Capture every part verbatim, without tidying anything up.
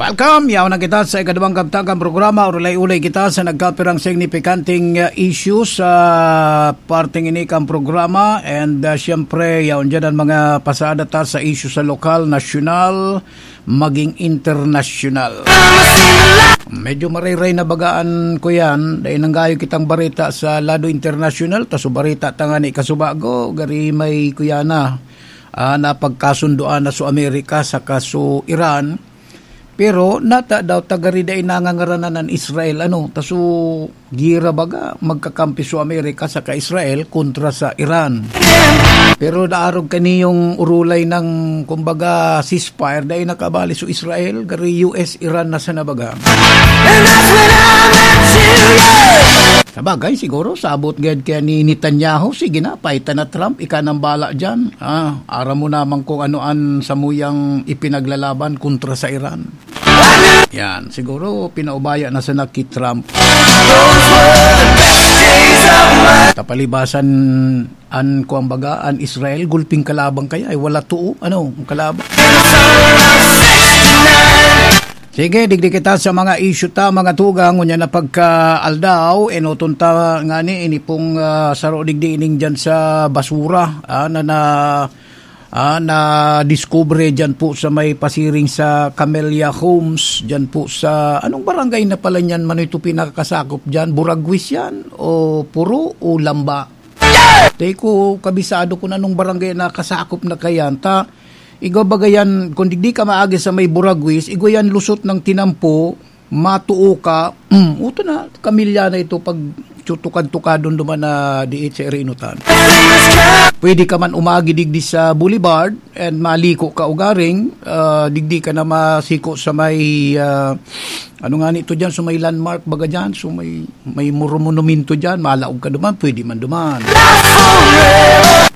Welcome! Yaon na kita sa ikaduwang kabtagang programa. Urulay-ulay kita sa nagkapirang signipikanteng, uh, issues sa parteng ini kang programa. And, uh, siyempre, yaon dyan ang mga pasada ta sa isyu sa lokal, nasyonal, maging internasyonal. Medyo marayray na bagaan ko yan. Dahil nang gayo kitang barita sa lado internasyonal, ta so barita tangani kasubago, gari may kuya na, ah, napagkasundoan na so Amerika saka so Iran. Pero nata daw tagari dai nangangaranan an Israel, ano, ta so gira baga, magkakampi so Amerika saka Israel kontra sa Iran. Pero naarog kaniyong urulay ng, kumbaga, ceasefire, dai nakabali so Israel, gari U S, Iran na sana baga. And that's when I met you, yeah. Sabagay, siguro, sabot gad kaya ni Netanyahu, sige na, paitan na Trump, ika nang bala dyan. Ah, aram mo naman kung ano an samuyang ipinaglalaban kontra sa Iran. Yan, siguro pinaubaya na sana ki Trump. Tapalibasan an, kuwan baga, an Israel, gulping kalabang kaya, ay wala tuo, ano, ang kalabang. Sige, digdi kita sa mga issue ta, mga tugang, unya na pagka-aldaw, enoton ta ngani, ini pong, ah, saro digdi ining dyan sa basura, ah, na, na, ah, nadiskubre dyan po sa may pasiring sa Camellia Homes, dyan po sa, anong barangay na pala niyan man ito pinakasakop dyan? Buraguis yan? O Puro? O Lamba? Di ko kabisado kung anong barangay na kasakop na kayan. Ta, igwa baga yan, kung digdi ka maagi sa may Buraguis, igwa yan lusot ng tinampo, matuo ka, mm, uto na, kamilya na ito pag tutukad-tukadon duman na diit sa Irinutan. Pwede ka man umagi digdi sa Boulevard and maliko ka ugaring, ah, digdi ka na masiko sa may, ah, ano nga nito dyan, so may landmark baga dyan, so may, may muru-, monumento dyan, malaog ka duman, pwede man duman.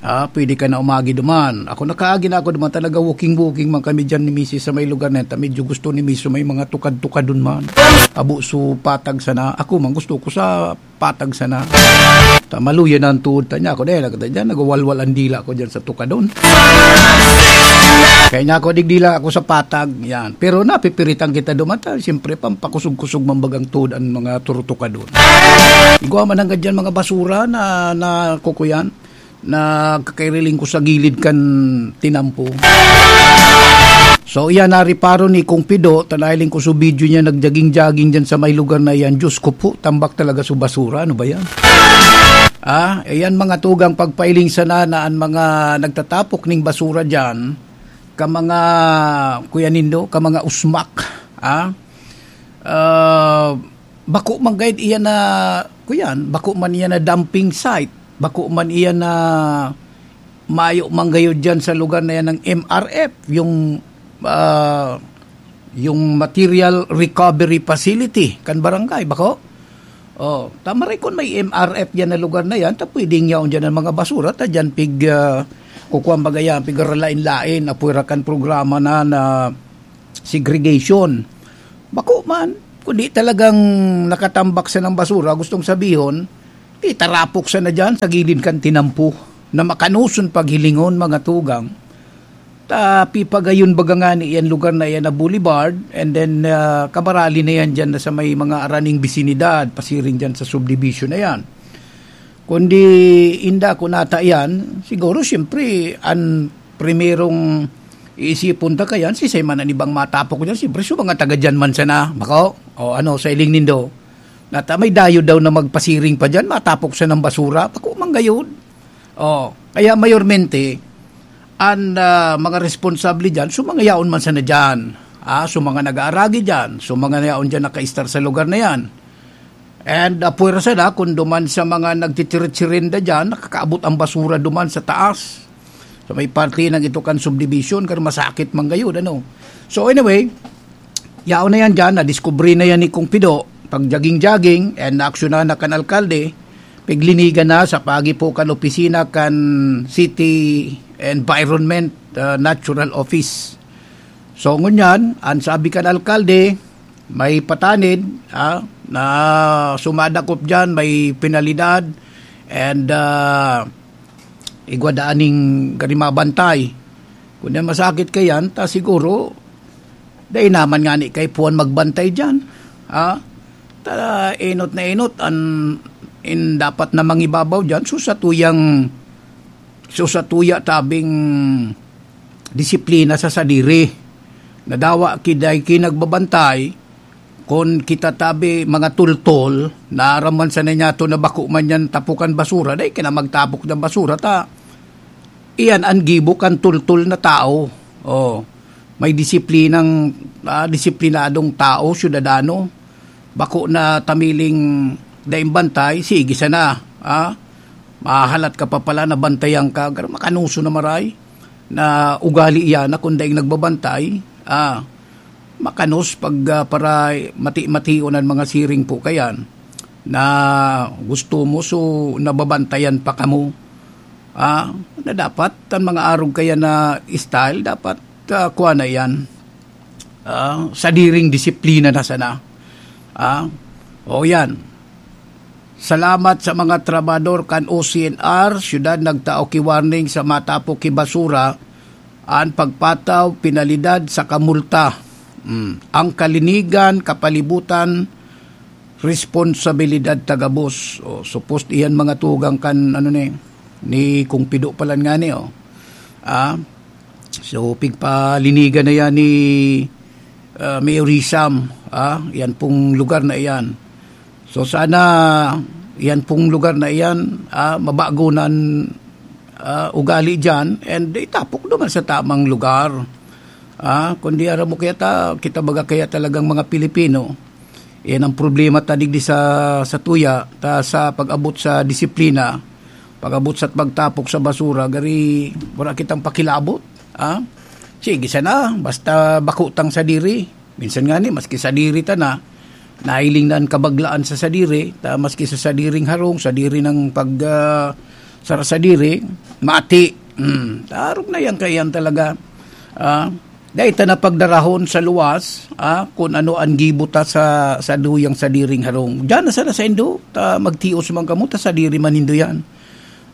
Ah, pwede ka na umagi duman. Ako nakaagi na ako duman, talaga walking-walking man kami dyan ni misis sa may lugar na yan. Ta medyo gusto ni misis so may mga tukad-tukadon man. Abo so patag sana. Ako man gusto ko sa patag sana. Ta maluya na ang tuhod ta niya. Ako dahil nagkata dyan, nagwawalwal ang dila ko dyan sa tukadon. Kaya niya ako, digdila ako sa patag. Yan. Pero napipiritan kita duman. Ta, siyempre, pampakusog-kusog man bagang tuhod ang mga turutukadon. Igwa man hanggang dyan mga basura na, na kukuyan. Nagkakairiling ko sa gilid kan tinampo. So, iyan, nariparo ni Kong Pido, ta nahiling ko sa video niya, nagjaging-jaging dyan sa may lugar na yan. Diyos ko po, tambak talaga sa basura. Ano ba yan? Ah, ayan mga tugang pagpailing sana na an mga nagtatapok ning basura dyan, ka mga, kuya nindo, ka mga usmak. Ah, ah, bako man gayud iyan na, kuyan, bako man iyan na dumping site, bako man iyan na mayo man gayud dyan sa lugar na yan ng M R F, yung, ah, yung material recovery facility kan barangay, bako? Oh, tama rin kung may M R F yan na lugar na yan, ta pwedeng yaon dyan ang mga basura, ta dyan pig, ah, kukuha baga yan, pig lain-lain, apwera kan programa na, na segregation. Bako man, kundi talagang nakatambak sa ng basura, gustong sabihon, itarapok sa na dyan sa gilid kan tinampo na makanoson paghilingon, mga tugang. Ta pipagayon baga nga ni yan lugar na yan na boulevard, and then, ah, kabarali na yan dyan na sa may mga araning bisinidad, pasiring dyan sa subdivision na yan. Kundi inda ko nata yan, siguro siyempre, an primerong iisipon ta kayan, si Simon an ibang matapok ko dyan, siyempre, so mga taga dyan man sana, bako, o ano, sa iling nindo, nata may dayo daw na magpasiring pa dyan, matapok sa ng basura, bako man gayud. Oh, kaya mayormente, an, ah, mga responsable diyan, so mga yaon man sana diyan. Ah, so mga nag-aaragi diyan, so mga yaon diyan nakaistar sa lugar na yan. And, ah, puwersa na, kung duman sa mga nagtitiritsi-rinda diyan, nakakaabot ang basura duman sa taas. So may parte ng ito kan subdivision, kan masakit man gayud, ano. So anyway, yaon na yan dyan, nadiskubre na yan ni Kong Pido, pag-jogging-jogging, and naaksyonan na kan alkalde, piglinigan na sa pagi po kan opisina kan City Environment, ah, Natural Office. So, ngunyan, ang sabi kan alkalde, may patanid, ah, na sumadakop dyan, may penalidad, and, ah, igwa daan ning gari mabantay. Kung yan masakit kayan, ta siguro, Dai naman ngani kaipuhan magbantay diyan. Ah, ta-, enot na enot an, in dapat na mangibabaw diyan. So, sa tuyang, so, sa tuya tabing disiplina sa sadiri. Nadawa ki dai ki nagbabantay, kun kita tabi mga tultol, naraman sa ninyato na bako man yan tapukan basura, dai ka na magtapok ng basura, ta iyan an gibo kan tultol na tao. Oh, may disiplinang, ah, disiplinadong tao, syudadano. Bako na tamiling daing bantay, sige sana, ah. Mahalat ka pa pala na bantayan ka, gar-, makanuso na maray na ugali iyan na kun daing nagbabantay, ah, makanos pag, ah, para mati-mation an mga siring po kayan na gusto mo, so nababantayan pa kamo. Ah, na dapat an mga arog kaya na style, dapat, ah, kuha na iyan. Ah, sadiring disiplina na sana. Ah, o yan. Salamat sa mga trabahador kan O C N R, syudad nagtao ki warning sa matapo ki basura, an pagpataw, penalidad sa kamulta. Mm. Ang kalinigan, kapalibutan, responsabilidad ta gabos. O, supposed iyan mga tugang kan, ano ni, ni Kung Pido palan ngani, o. Ah, so, pigpalinigan na yan ni, ah, Mayor Rizam, ah, yan pong lugar na iyan. So, sana yan pong lugar na iyan, ah, mabago na an, ah, ugali diyan and itapok naman sa tamang lugar. Ah, kundi aram mo kaya ta, kita baga kaya talagang mga Pilipino, yan ang problema ta digdi sa, sa tuya, ta sa pag-abot sa disiplina, pag-abot sa pagtapok sa basura, gari wala kitang pakilabot, ah. Sige sana, basta bako tang sadiri. Minsan ngani, maski sadiri ta na, nahiling na an kabaglaan sa sadiri, ta maski sa sadiring harong, sadiri ng pag, ah, sara sadiri, mati. Hmm, tarog na yan kaya yan talaga. Ah, dai ta na pagdarahon sa luwas, ah, kun ano an gibo ta sa, sa duyang sadiring harong. Diyan na sana saindo, ta magtios man kamo, ta sadiri man nindo yan.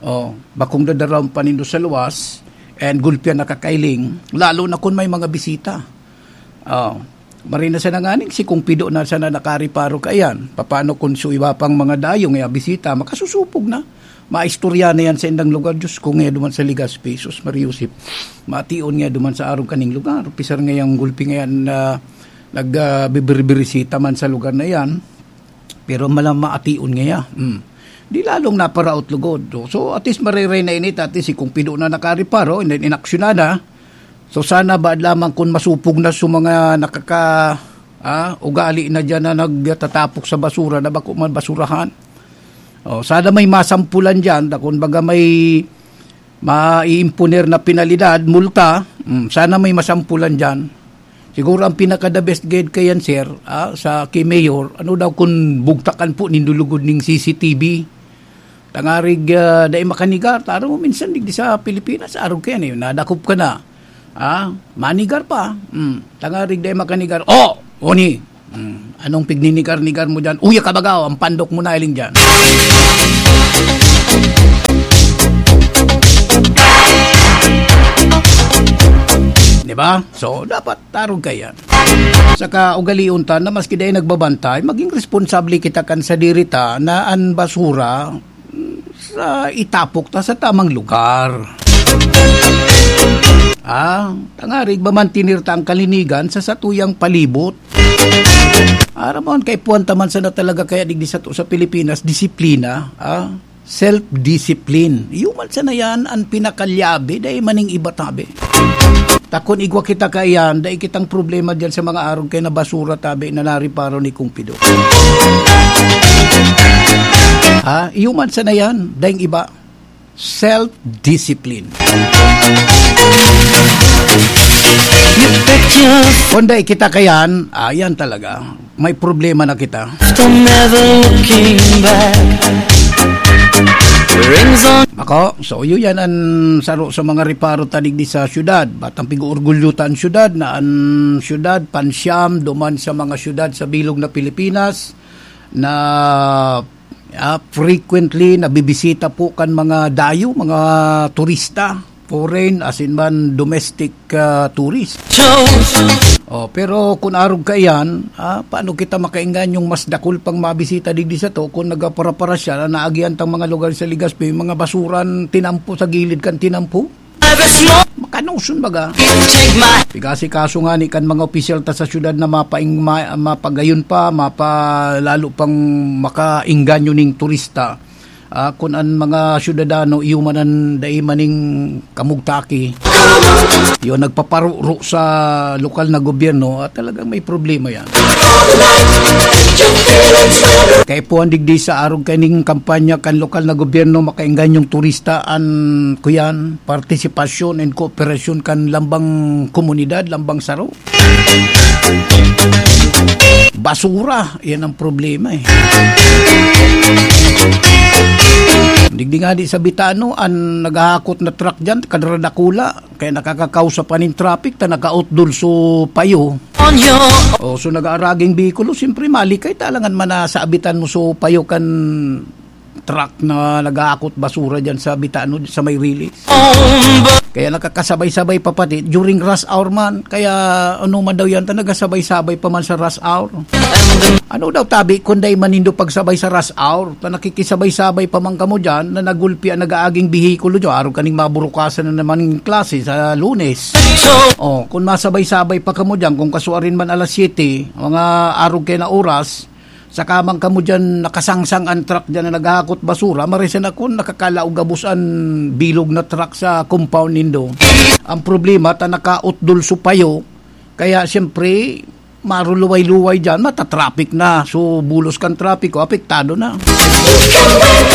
Oh, bakong dadarahon pa nindo sa luwas, and gulpian na kakailing, lalo na kun may mga bisita. Oh, marina sana nganing si Kung Pido na sana nakariparo kaiyan. Papaano kun su iba pang mga dayo nga bisita, makasusupog na. Maistorya na yan sa indang lugar. Diyos ko, nga duman sa Legazpi, sus, Maria Josep. Mation nga duman sa arog kaning lugar. Pisar nga yung gulpi nga yan na nag, ah, bibirbirisita man sa lugar na yan. Pero mala-, maation ngaya. Hmm. Di lalong naparaot lugod. So, at least mariray na init, at least si Kung Pido na nakariparo, and then inaksyonan na. So, sana ba lamang kun masupog na sa mga nakaka-, ah, ugali na diyan na nagtatapok sa basura na bako man basurahan. Oh, sana may masampulan diyan, ta kun baga may maiimponer na penalidad, multa, mm, sana may masampulan diyan. Siguro ang pinaka-the best guide kayan, sir, ah, sa kay Mayor, ano daw kun bugtakan po nindo lugod ning C C T V? Tangarig, ah, dai makanigar. Taro mo minsan digdi sa Pilipinas, arog kayan eh, nadakop ka na. Ah, manigar pa. Mm, tangarig dai makanigar. Oh, oni. Hmm, anong pigninigar-nigar mo diyan? Uya ka baga, oh, ang pandok mo na iling diyan. Di ba? So, dapat tarog ka yan. Saka ugalion ta na maski dai nagbabantay, maging responsable kita kan sadiri ta na an basura, mm, sa itapok ta sa tamang lugar. Ah, tangarig mamantinir ta ang kalinigan sa satuyang palibot. Aram mo, kay puwan ta man sana talaga kaya digdi sa, sa Pilipinas, disiplina, ah, self-discipline. Iyo man sana yan ang pinakalyabe, dai maning iba tabi. Ta kun igwa kita kaiyan, dai kitang problema diyan sa mga arog kay na basura tabi na nariparo ni Kung Pido. Ha? Iyo man sana yan, daing iba. Self-discipline. You bet your Kung dai kita kayan, ayan talaga. May problema na kita. From never looking back. Rings on. Ako, so yun yan ang saro sa mga riparo ta digdi sa syudad. Batang pig-uorgulyo ta ang syudad na ang syudad, pansyam, duman sa mga syudad sa bilog na Pilipinas na, ah, frequently nabibisita po kan mga dayo, mga turista. foreign, asin man domestic, ah, tourist. Oh, pero kun arog kaiyan, ah, paano kita makainganyong mas dakul pang mabisita digdi sato kun nagaparaparasya na naagihan tang mga lugar sa Legazpi, mga basuran tinampo sa gilid kan tinampo? Makanoson baga. Pigasikaso ngani kan mga opisyal ta sa syudad na mapaing-, ma-, mapagayon pa, mapa-, lalo pang makaingganyo ning turista. Ah, kun an mga syudadano iyo man an dai maning kamugtaki, iyo nagpaparuro sa lokal na gobyerno, ah, talagang may problema yan. Kaipuhan digdi sa arog kaning kampanya kan lokal na gobyerno, makainggan yung turista an kuyan, partisipasyon and kooperasyon kan lambang komunidad, lambang saro. Basura, yan ang problema eh. Digdi nga di sa Bitano, an naghahakot na truck dyan, kadradakula, kaya nakakakausa pa nin traffic, ta nakautdol so payo. O, so nag-aaraging bikulo, siyempre malikay, talangan man na sa abitan mo so payo kan truck na nag-aakot basura dyan sa Bitano, sa may release. Kaya nakakasabay-sabay pa pati during rush hour man. Kaya ano man daw yan, ta nagasabay-sabay pa man sa rush hour. Ano daw tabi, kung dai man nindo pagsabay sa rush hour, ta nakikisabay-sabay pa man kamo dyan, na nagulpi ang nag-aaging bihikulo dyan, araw kaning maburukasan na naman ng klase sa Lunes. Oh, kung masabay-sabay pa kamo dyan, kung kasuarin man alas siyete, mga arog kayo na oras, saka man kamo dyan nakasangsang ang truck dyan na naghahakot basura, marisan ako nakakalaog gabos an bilog na truck sa compound nindo. Ang problema, ta nakautdol so payo, kaya siyempre, maruluway-luway dyan, matatraffic na. So, bulos kan trapiko, apektado na.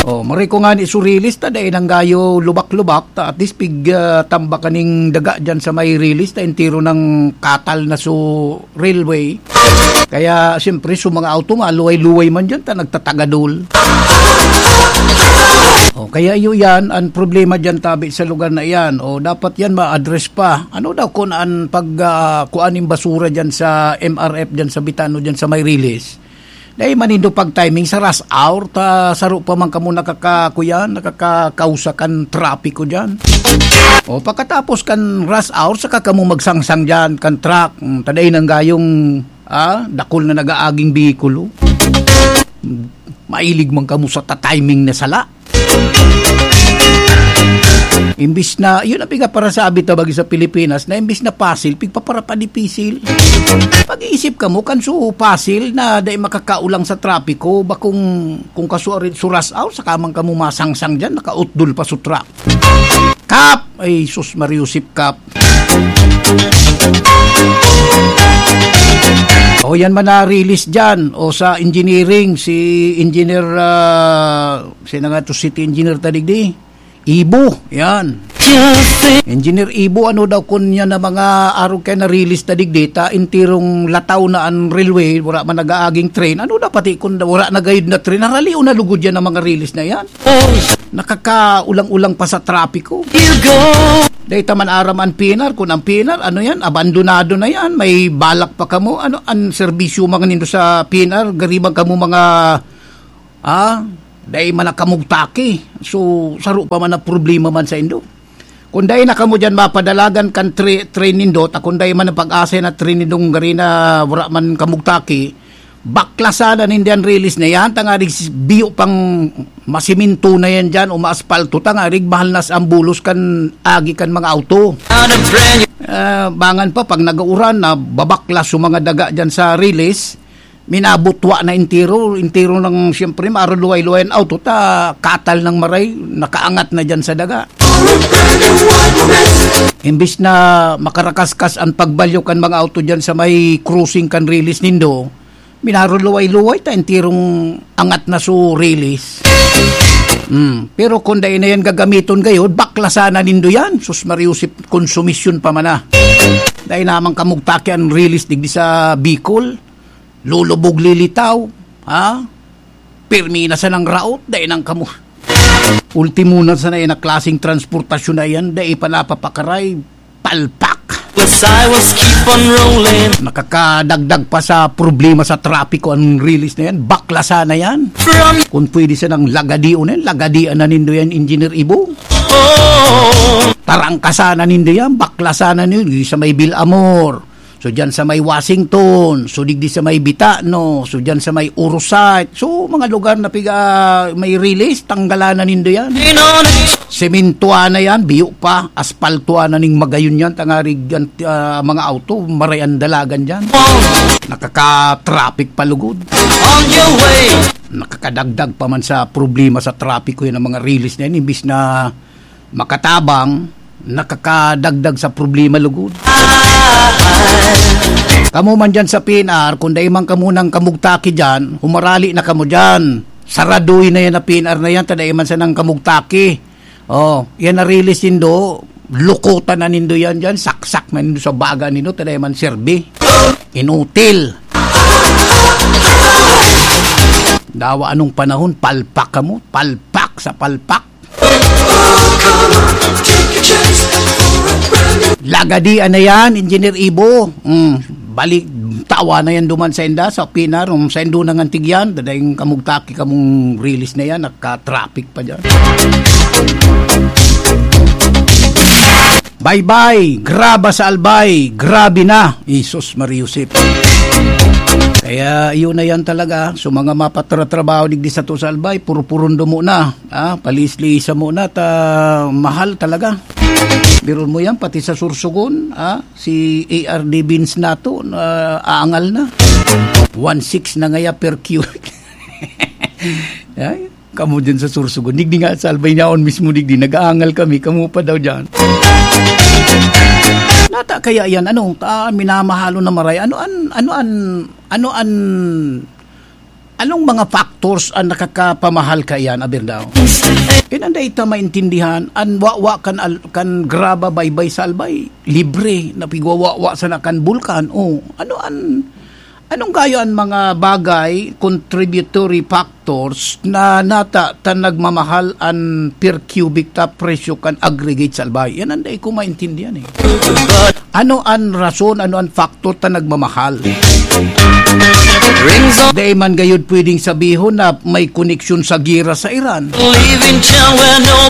Oh, maray ko nga ni Surilis, ta dai nang gayo lubak-lubak, ta at least pig, ah, tambak kaning daga dyan sa may release, ta entero ng katal na so railway. Kaya, siyempre, so mga auto, maluway-luway man dyan, ta nagtatagadol. O, kaya iyo yan, ang problema dyan, tabi sa lugar na iyan. O, dapat yan ma-address pa. Ano daw kun an pag, ah, kuan nin basura dyan sa M R F, dyan sa Bitano, dyan sa may release? Dai man nindo pag-timing sa rush hour, ta saro pa man kamo nakaka-, kuyan, nakakakausa kan trapiko dyan. O, pagkatapos kan rush hour, saka kamo magsangsang dyan, kan truck. Hmm, ta dai nang gayong, ah, dakul na nag-aaging bihikulo. Mailig man kamo sa ta-timing na sala. Imbis na, yun ang pigaparasabi ta bagi sa Pilipinas, na imbis na pasil, pigpaparapadipisil. Pag-iisip kamo, kan su pasil na dai makakaulang sa trapiko, bakong kung kasuarin suras aw, saka man kamo masangsang dyan, nakautdol pa su truck. Kap! Ay, sus, Mariusip Kap. O, yan man na release dyan. O, sa engineering, si Engineer, ah, sino nga to, City Engineer ta digdi? Ibo, yan. Engineer Ibo, ano daw kun yan na mga arog kaya na-release ta digdi, ta intirong lataw na an railway, wala man nag-aaging train. Ano daw pati kun wala na gayud na train? Haralion na lugod yan ang mga release na yan. Nakakaulang-ulang pa sa trapiko. Dahil taman aram ang P N R, kung ang P N R, ano yan, abandonado na yan, may balak pa kamo, ano, ang serbisyo mga nindo sa P N R, gariban kamo mga, ah, dahil man nakamugtaki. So, saro pa man ang problema man sa indo. Kung dai na kamo dyan mapadalagan kan tra-, train nindo, ta kung dai man ang pag-asa na train nindong gari na wala man kamugtaki, baklasan na nindiyan release na yan, tangarig s-, biyo pang masiminto na yan dyan o maaspalto, tangarig mahal na sa ambulos kan agi kan mga auto. Ah, bangan pa, pag nag-uuran, na babaklas yung mga daga dyan sa release, minabutwa na entero, entero ng, siyempre, maaruluway-luway ang auto, ta katal ng maray, nakaangat na dyan sa daga. Imbis na makarakaskas ang pagbalyo kan mga auto dyan sa may crossing kan release nindo, minaruluway-luway ta enterong angat na su release. Hmm. Pero kung dai na yan gagamiton gayod, baklasan na nindo yan. Sus Mariusip, konsumisyon pa man na. Dai naman kamugtaki ang release digdi sa Bicol. Lulubog lilitaw, ha? Pirmi na sanang raot, dai nang kamo. Ultimo na sana yan na klaseng transportasyon na yan, dai pa napapakaray, palpak. Yes, I was keep on rolling. Nakakadagdag pa sa problema sa trapiko ang release na yan. Baklasan na yan. From Kung pwede sanang lagadion na yan, lagadian na nindo yan, Engineer Ibo. Tarangkasan na nindo yan, baklasan na nindo sa may Villamor. So, dyan sa may Washington, so, digdi sa may Bitano, so, dyan sa may Urusite. So, mga lugar na piga, may release, tanggalan na nindo yan. Sementuan na yan, biyo pa, aspaltuan na ning magayon yan, tangarig, ah, mga auto, maray ang dalagan dyan. Nakaka-traffic pa lugod. On your way. Nakakadagdag pa man sa problema sa trapiko yan ang mga release na yan, imbis na makatabang, nakakadagdag sa problema lugod. Kamo man dyan sa P N R, kung dai man kamo nang kamugtaki dyan, humarali na kamo dyan. Saraduy na yan na P N R na yan, ta dai man sanang kamugtaki. Oh, yan na release nindo, lukutan na nindo yan dyan, saksak na nindo sa baga nindo, ta dai man serbi. Inutil. Dawa anong panahon, palpak kamo, palpak sa palpak. Lagadian na yan, Engineer Ibo. Mm, balik, tawa na yan duman sa inda, sa Pinar. Um, sa indo nang antigyan, dadayong kamugtaki kamong release na yan, nagka-traffic pa dyan. Bye-bye, graba sa Albay, grabe na, Jesus Maria Josep. Kaya yun na yan talaga, so mga mapatratrabaho digdi sa to sa Albay, puro-puron dumo na. Ah, paliis-liisa mo na ta mahal talaga. Biron mo yan, pati sa Sorsogon, ah, si A R D Beans nato, ah, aangal na. One six na ngaya per cubic. Ay, kamo dyan sa Sorsogon. Digdi nga sa Albay niyaon mismo, digdi. Nag-aangal kami, kamo pa daw dyan. Nata kaya yan, ano, ta, minamahalo na maray. Ano an, ano an, ano an, Anong mga factors an nakakapamahal kaiyan, aber daw? Iyan an dai ta maintindihan, an wawa kan al-, kan graba baybay sa Albay, libre, na pigwawawa sana kan bulkan. O, ano an, anong gayo an mga bagay, contributory factors, na nata ta nagmamahal an per cubic ta presyo kan aggregate sa Albay? Iyan an dai ko maintindihan, eh. Ano an rason, ano an factor ta nagmamahal? Dai man gayud pwedeng sabihon na may koneksyon sa gera sa Iran.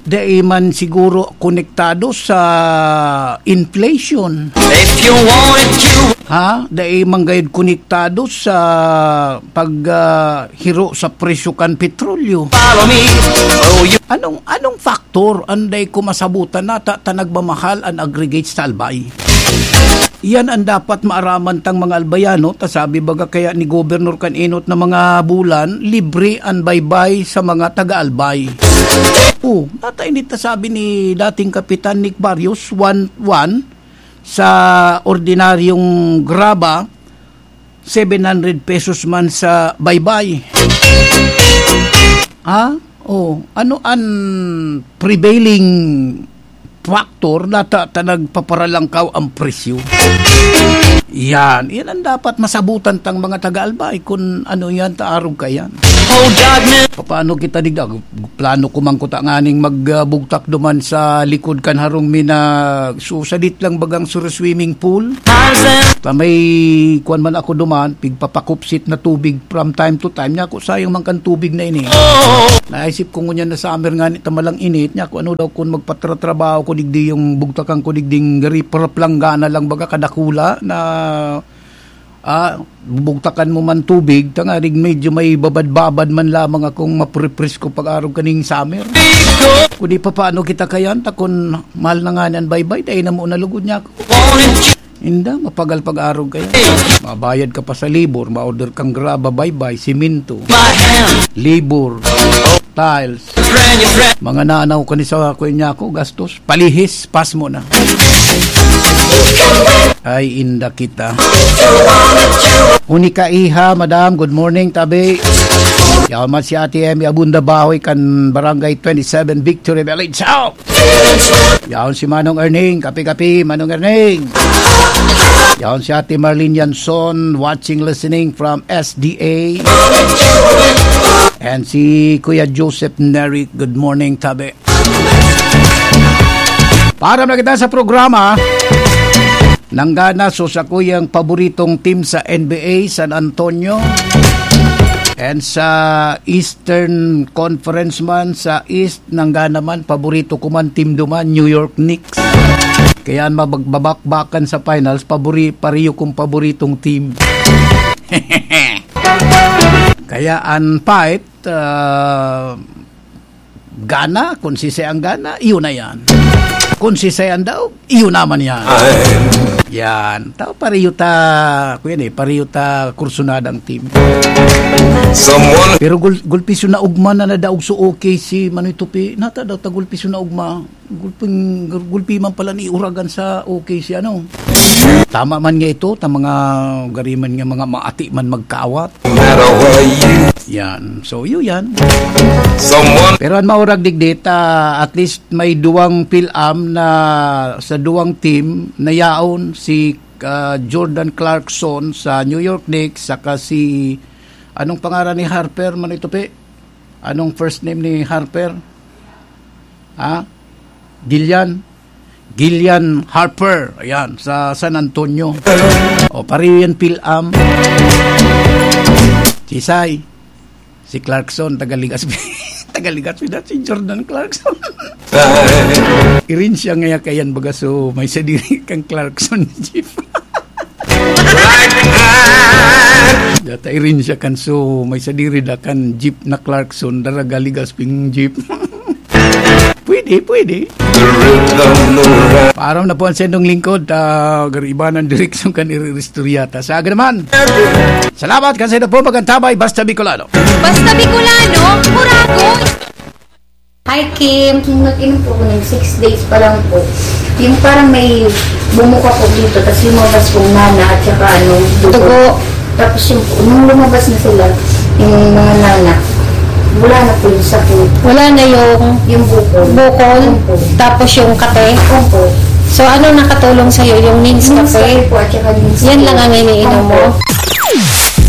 Dai man siguro konektado sa inflation. Ha? Dai man gayud konektado sa pag, ah, hiro sa presyo kan petrolyo. Anong, anong factor an dai ko masabutan na ta, ta nagmamahal an aggregate sa Albay? Iyan an dapat maaraman tang mga Albayano, ta sabi baga kaya ni Gobernador kan enot na mga bulan, libre an baybay sa mga taga-Albay. O, nata ini ta sabi ni dating Kapitan Nick Barrios, one one sa ordinaryong graba, seven hundred pesos man sa baybay. Ha? O, ano an prevailing factor na ta, ta nagpaparalangkaw ang presyo? Yan. Yan ang dapat masabutan tang mga taga-Albay kung ano yan, ta arog ka yan. Papaano kita digda? Plano ko man kuta nganing magbugtak duman sa likod kan harong mi na susadit lang bagang sura swimming pool. Ta may kuwan man ako duman, pigpapakupsit na tubig from time to time. Niya ako, sayang man kan tubig na ini. Naisip ko ngunyan na summer nga ni, tamalang init. Niya ako, ano daw kung magpatratrabaho ko digdi yung bugtakan ko digding gari, paraplanggana lang baga kadakula na Ah, bubugtakan mo man tubig, tangarig medyo may babad-babad man lamang akong maprepresko pag-arog kaning summer. Kung di pa, paano kita kayan? Ta kun mahal na nga niyan baybay, dai na mo nalugod niya ako. Inda, mapagal pag-arog kaya. Mabayad ka pa sa labor, ma-order kang graba, baybay, simento. Labor, tiles. Mga nanaw ka ni sa kuya niya ako, gastos. Palihis, pas mo na. Ay, inda kita. Unika iha, madam. Good morning, tabi. Yaman si Ate Emmy Abunda Bahoy kan Barangay twenty-seven Victory Village. Out! Yaon si Manong Erning. Kapi-kapi, Manong Erning. Yaon si Ate Marlene Yanson, watching, listening from S D A. And si Kuya Joseph Neri. Good morning, tabi. Para na kita sa programa, nanggana so sa kuyang paboritong team sa N B A, San Antonio. And sa Eastern Conference man, sa East, nanggana man, paborito ko man, team duman, New York Knicks. Kaya an mabag-, mabakbakan sa finals, pabori-, pareho kong paboritong team. Kaya an fight, ah, gana, kung sisay ang gana, iyon na yan. Kung sisay ang daog, iyon naman yan. Yan. Tao, pareho ta, kuya ni, pareho ta kursunadang team. Someone Pero gul-, gulpi so naugma na nadaog so okay si Manoy Tupi. Nata daw ta gulpi so naugma. Gulping, gul-, gulpi man pala ni Uragan sa okay si ano. Tama man nga ito, ta mga gariman nga mga maati man magkaawat. Matter where you Yan. So, yun yan. Someone Pero an maurag digdi, ta at least may duwang Phil-Am na sa duwang team na yaon si, ah, Jordan Clarkson sa New York Knicks saka si, anong pangaran ni Harper, Manoy Tupi? Anong first name ni Harper? Ha? Gillian? Gillian Harper. Ayan, sa San Antonio. O, pareho yan, Phil-Am. Sisay. Si Clarkson, taga Legazpi. Taga Legazpi na, si Jordan Clarkson. Irin siya ngaya kayan, baga, so, may sadiri kang Clarkson jeep. Data irin siya kan, so, may sadiri da kan jeep na Clarkson, daraga Legasping jeep. Pwede, pwede. Paaram na po ang sendong lingkod, ah, garibanan direksyon kan iriristorya ta. Sa aga naman. Salamat, kasi na po magantabay, Basta Bicolano. Basta Bicolano, Murago. Hi, Kim. Nung nag-inom po ako ng six days pa lang po, yung parang may bumuka po dito, tas lumabas pong nana at saka ano, dugo. Dugo. Tapos yung, nung lumabas na sila, yung mga nana, wala na po yung sakit. Wala na yung Yung bukol. bukol, Opo. tapos yung kape. Opo. So, ano nakatulong sa'yo? Yung Nins Nins Cafe? Cafe po at saka Nins Yan Tea. lang ang iniinom mo? Opo.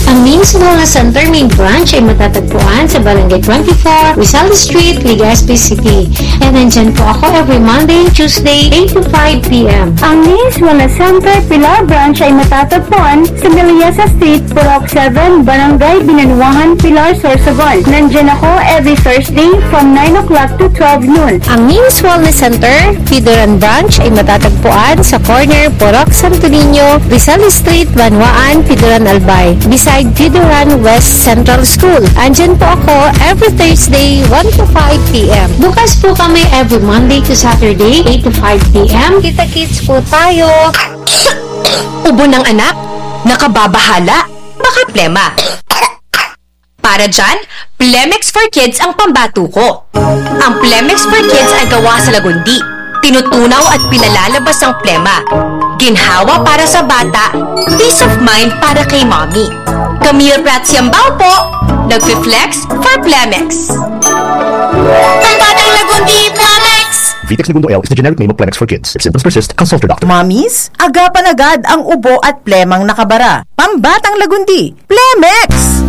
Ang Nins Wellness Center main branch ay matatagpuan sa Barangay twenty-four, Rizal Street, Legazpi City. And nandyan po ako every Monday and Tuesday, eight to five p m. Ang Nins Wellness Center Pilar Branch ay matatagpuan sa Miliasa Street, Purok seven, Barangay Binanuangan, Pilar, Sorsogon. Nandyan ako every Thursday from nine o'clock to twelve noon. Ang Nins Wellness Center, Pidoran Branch, ay matatagpuan sa corner Purok Santo Niño, Rizal Street, Banwaan, Pidoran, Albay, beside Pidoran West Central School. Andyan po ako every Thursday, one to five p m. Bukas po kami every Monday to Saturday, eight to five p m. Kita-kits po tayo. Ubo ng anak? Nakababahala? Baka plema. Para dyan, Plemex for Kids ang pambatuko. Ang Plemex for Kids ay gawa sa lagundi. Tinutunaw at pinalalabas ang plema. Ginhawa para sa bata, peace of mind para kay mommy. Camille Prats Yambao po, nagfi-flex for Plemex. Pambatang lagundi, Plemex! Vitex Negundo L is the generic name of Plemex for Kids. If symptoms persist, consult your doctor. Mommies, agapan agad ang ubo at plemang nakabara. Pambatang lagundi, Plemex!